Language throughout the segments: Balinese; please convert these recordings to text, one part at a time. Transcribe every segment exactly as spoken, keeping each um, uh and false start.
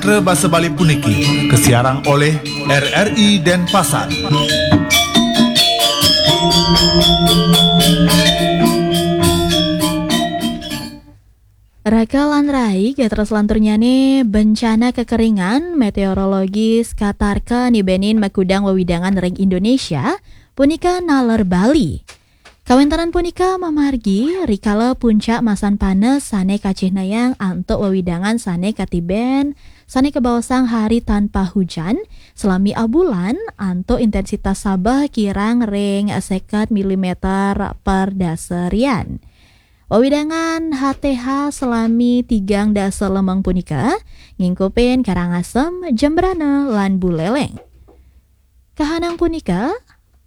Gatra Basa Bali puniki kasiarang oleh R R I Denpasar. Raka lan rai, gatra selanturnyane bencana kekeringan meteorologis katarka nibenin makudang wewidangan ring Indonesia, punika naler Bali. Kawentenan punika mamargi rikala puncak masan panes sane kacihnayang antuk wewidangan sane katiben sane kabaosang hari tanpa hujan salami abulan antuk intensitas sabeh kirang ring seket milimeter per dasarian. Wewidangan H T H salami tigang dasa lemeng punika ngingkupin Karangasem, Jembrana, lan Buleleng. Kahanang punika,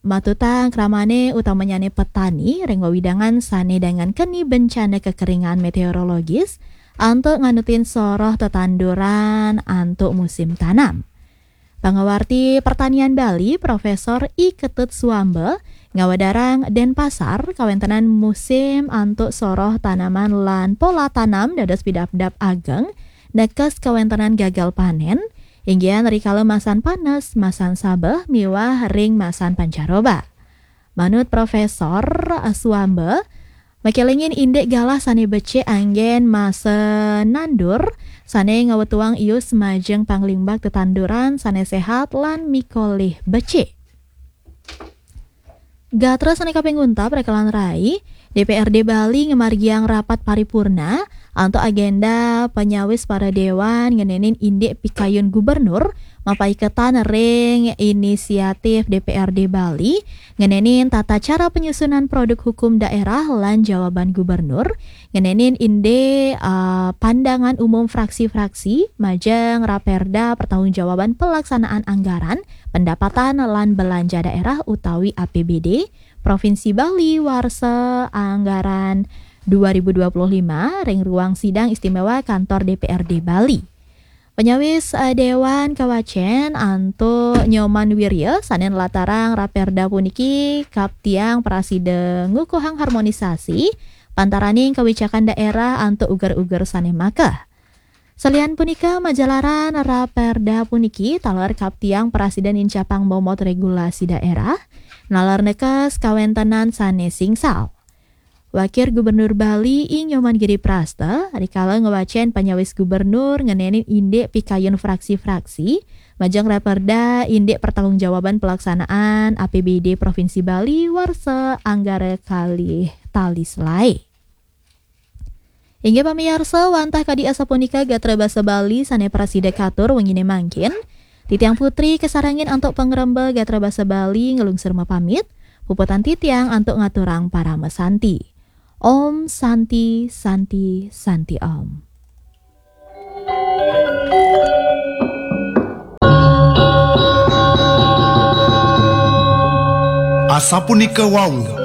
matutang kramane utamanyane petani ring wewidangan sane dangan keni bencana kekeringan meteorologis antuk nganutin soroh tetanduran antuk musim tanam. Pangawarti Pertanian Bali, Profesor I Ketut Suamba, ngawedarang Denpasar kawentenan musim antuk soroh tanaman lan pola tanam dados pidabdab ageng, nekes kawentenan gagal panen, inggihan rikala masan panes, masan sabeh, miwah ring masan pancaroba. Manut Profesor Suamba, makelingin indik galah sane becik anggen masa nandur, sane ngawetuang ius majeng panglimbak tetanduran sane sehat lan mikolih becik. Gatra sane kaping untat, raka lan rai, D P R D Bali ngamargiang rapat paripurna antuk agenda panyawis para dewan ngenenin indik pikayun gubernur mapaiketan ring inisiatif D P R D Bali ngenenin tata cara penyusunan produk hukum daerah lan jawaban gubernur, ngenenin indik, ah, pandangan umum fraksi-fraksi majeng Raperda Pertanggungjawaban Pelaksanaan Anggaran Pendapatan lan Belanja Daerah utawi A P B D Provinsi Bali warsa anggaran dua ribu dua puluh lima ring ruang sidang istimewa kantor D P R D Bali. Panyawis, eh, Dewan kawacen antuk Nyoman Wirya sane nlatarang Raperda puniki kaptiang prasida ngukuhang harmonisasi pantaraning kawicakan daerah antuk uger-uger sane makeh. Salian punika, majalaran Raperda puniki taler kaptiang prasida nincapang momot regulasi daerah, naler nekes kawentenan sane singsal. Wakil Gubernur Bali I Nyoman Giri Prasta rikala ngwacen panyawis gubernur ngenenin indik pikayun fraksi-fraksi majeng Raperda indik pertanggungjawaban pelaksanaan A P B D Provinsi Bali warsa anggara kalih tali selae. Inggih pamiarsa, wantah kadi asapunika gatra basa Bali sane prasida katur wengine mangkin. Titiang Putri kasarengin antuk pangremba gatra basa Bali nglungsur mapamit. Puputang titiang antuk ngaturang parama santi. Om Santi, Santi, Santi Om. Asapunika wau,